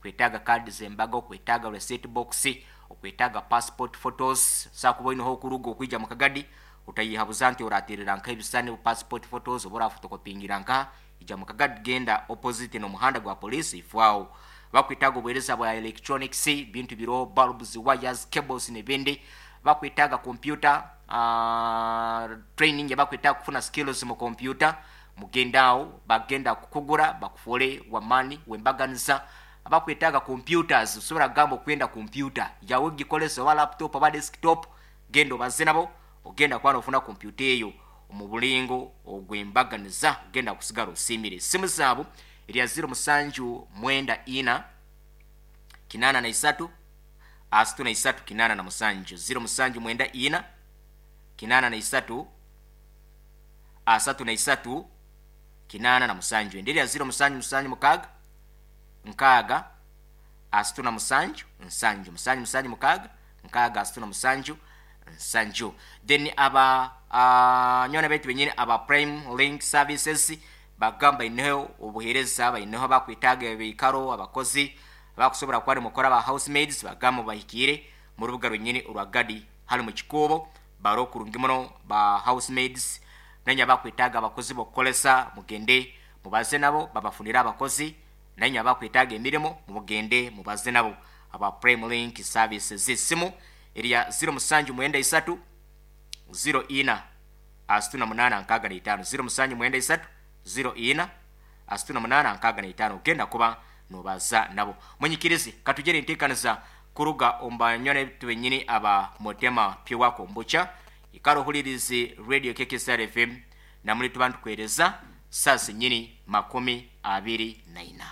Okwetaaga kaadi z'embaga, okwetaaga receipt box, okwetaaga passport photos, sakuba oineho okuruga okwija mu Kagadi, otayihabuza nti oraterera nka ebisani passport photos oba orafotokopingira nkaha. Ija mu Kagadi, genda opposite n'omuhanda gwa police, ifwaho. Bakwetaaga obuheereza bwa electronics, bintu biroho bulbs, wires, cables n'ebindi. Bakwetaaga computer training, bakwetaaga kufuna skills mu computer, mugende aho, bagenda kukugura bakufuule wamani wembaganiza. Abakwetaaga computers, osobola kugamba okwenda computer yawe gikolesa, oba laptop oba desktop, genda obaze nabo, ogenda kuba nofuna computer eyo omu bulingo ogwembaganiza, ogenda kusigara osiimire. Esimu zaabo erya 0794 83 33 87, 0794 83 33 87. Endi erya 0776 6 37 7, 776 6 37 7. Then aba nywani baitu benyini aba Prime Link Services bagamba baineho obuheereza, baineho bakwetaaga ebiikaro, abakozi abakusobora kuba nimukora, aba housemaids, bagamba bahikiire mu rubuga rwenyini orwa Gadi hali mu Kikuubo, baro kurungi muno ba housemaids. Nainywe abakwetaaga abakozi b'okukolesa, mugende mubaze nabo babafunire abakozi. Nainywe abakwetaaga emirimo, mugende mubaze nabo aba Prime Link Services. Esimu erya 0793 04 38 65, 0793 04 38 65, ogenda kuba nobaza nabo. Munyikirize katugere enteekaniza kuruga omu banywani baitu benyini aba Motema Pure Kombucha. Ikara ohulirize Radio KKSR FM, namuli tuba nitukuheereza saa zenyini 24.